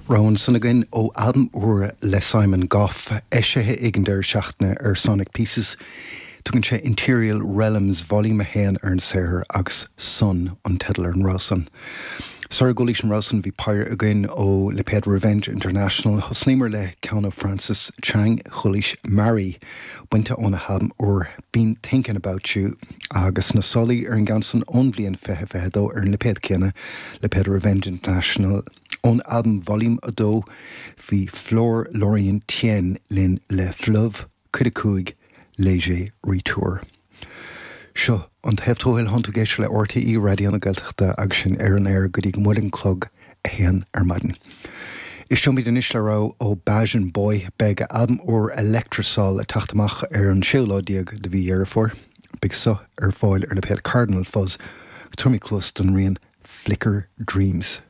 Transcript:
Rogha ansan againn ó albam úr le Simon Gough, eisithe ag an deireadh seachtaine ar Sonic Pieces. Tugann sé Interial Realms Volume 1 ar an saothar agus Sun an teideal ar an rogha san. Sara gcualaís an rogha san bhí péire againn ó lipéad Revenge International. Thosnaíomar le ceann ó Francis Chang, chualaís Mary, bainte óna halbam úr Been Thinking About You agus na solaí ar an gceann san ón bhliain 2022 ar an lipéad céanna, lipéad Revenge International. Ón albam Volume 2 bhí Fleur Lauriane Tien linn le Fleuve, Cuid 5, Léger Retour. Seo an Taobh Tuathail, tánn tú ag éisteacht le RTÉ Raidió na Gaeltachta agus sinn ar an aer go dtí go mbuailfidh an clog a haon ar maidin. Éisteoimid anois le rogha ó Bajan Boy. Beidh a albam úr Electrosol ag teacht amach ar an séú lá déag de mhí Dheireadh Fómhair. Beidh so ar fáil ar lipéad Cardinal Fuzz. Tabharfaimid cluas don rian Flicker Dreams.